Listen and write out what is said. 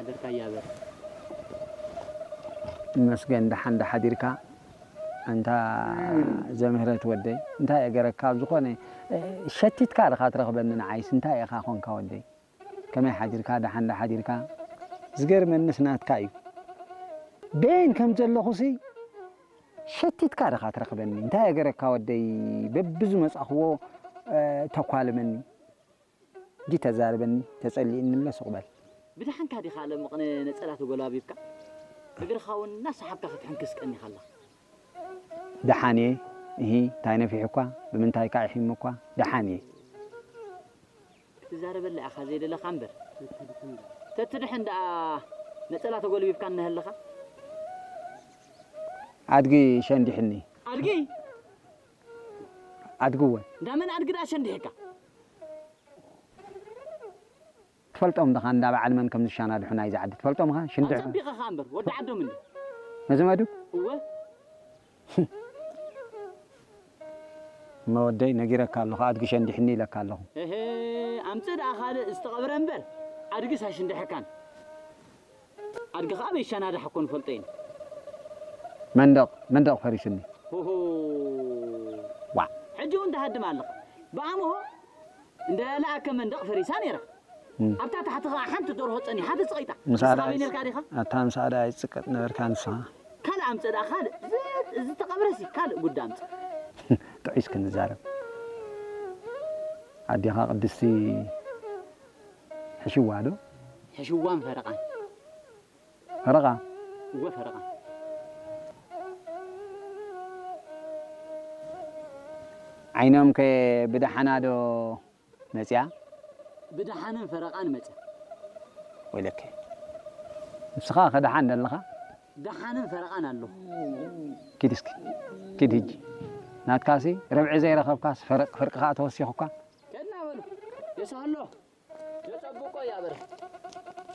ሓደርካ እያበር። ይመስገን፣ ደሓን ዶ ሓዲርካ? ኣንታ ዘምህረት ወደይ፣ እንታይ እገረካ? ኣብ ዝኾነ ሸቲትካ ዲኻ ትረኽበኒ? ንዓይስ እንታይ ኢኻ ኾንካ ወደይ? ከመይ ሓዲርካ? ደሓን ዶ ሓዲርካ? ዝገርመንስ ናትካ እዩ። በየን ከም ዘለኹሲ ሸቲትካ ዲኻ ትረኽበኒ? እንታይ እገረካ ወደይ? በብዝመጻኽዎ ተኳልመኒ። ጂ ተዛርበኒ፣ ተጸሊእኒ እለ ሱቕ በል። ብደሓንካ ዲኻ ለምቕነ ነጸላ ተጎላቢብካ? እግርኻ እውን እናሰሓብካ ክትሕንክስ ቀኒኻ ኣለኻ። ደሓን እየ። እሂ፣ እንታይ ነፊሑኳ? ብምንታይ ከ ኣሒሙኳ? ደሓን እየ። ክትዛረበላ ኢኻ ዘይደለኻ እምበር። ተትድሕን ደኣ ነጸላ ተጎልቢብካ እነሀለኻ? ኣድጊ ሸንዲሕኒ። ኣድጊ? ኣድጊ እውን። እንዳ መን ኣድጊ ደኣ ሸንዲሕካ? ትፈልጦም ዲኻ እንዳ በዓል መን ከም ዝሻናድሑ ናይዚ ዓዲ ትፈልጦም ኢኻ? ሽንድሑ። ኣጸቢቐኻ እምበር ወዲ ዓዶም እንዲ። ነዘመዱ? እወ። እመ ወደይ ነጊረካ ኣለኹ፣ ኣድጊ ሸንዲሕኒ ኢለካ ኣለኹ። እህ፣ ኣምጽእ ደኣ ካልእ ዝተቐብረ እምበር ኣድግስ ኣይሽንድሐካን። ኣድጊ ኸኣ በይሻናዳሕ እኮ ንፈልጦ ኢና። መንደቕ፣ መንደቕ ፈሪሱኒ። ሆሆ። ዋእ። ሕጂ እውን ትሃድም ኣለኻ። ብኣምሆ እንዳ ለኣከ መንደቕ ፈሪሳ ነይራ። እም። ኣብታ ታሕቲ ኸኣ ሓንቲ ደርሆ ጸኒሓ ተጽቒጣ። ንሳ ንስኻ ደኣ ኣበይ ነርካ ዲኻ? ኣታ ንሳ ደኣ ኣይትጽቀጥ ነበርካ ንስኻ። ካልእ ኣምጽእ ደኣ ካልእ። እዚ፣ እዚ ተቐብረሲ ካልእ ጉዳይ ኣምጽእ። ጥዑይ እስኪ ንዛረብ። ኣዴኻ ቅድስቲ ሕሽዋ ዶ? ሕሽዋን ፈረቓን። ፈረቓ? እወ ፈረቓን። ዓይኖም ከ ብደሓና ዶ መጽያ? ብደሓንን ፈረቓን መጽያ። ወይለከ። ንስኻ ከ ደሓን ደለኻ? ደሓንን ፈረቓን ኣለኹ። ኪድ እስኪ። ኪድ ህጂ። ናትካሲ ርብዒ ዘይረኸብካስ ፈረቕ ፍርቂ ኸኣ ተወሲኹካ? ከድና በሉ። የሳሎ። የጸብቆ እያ በረ።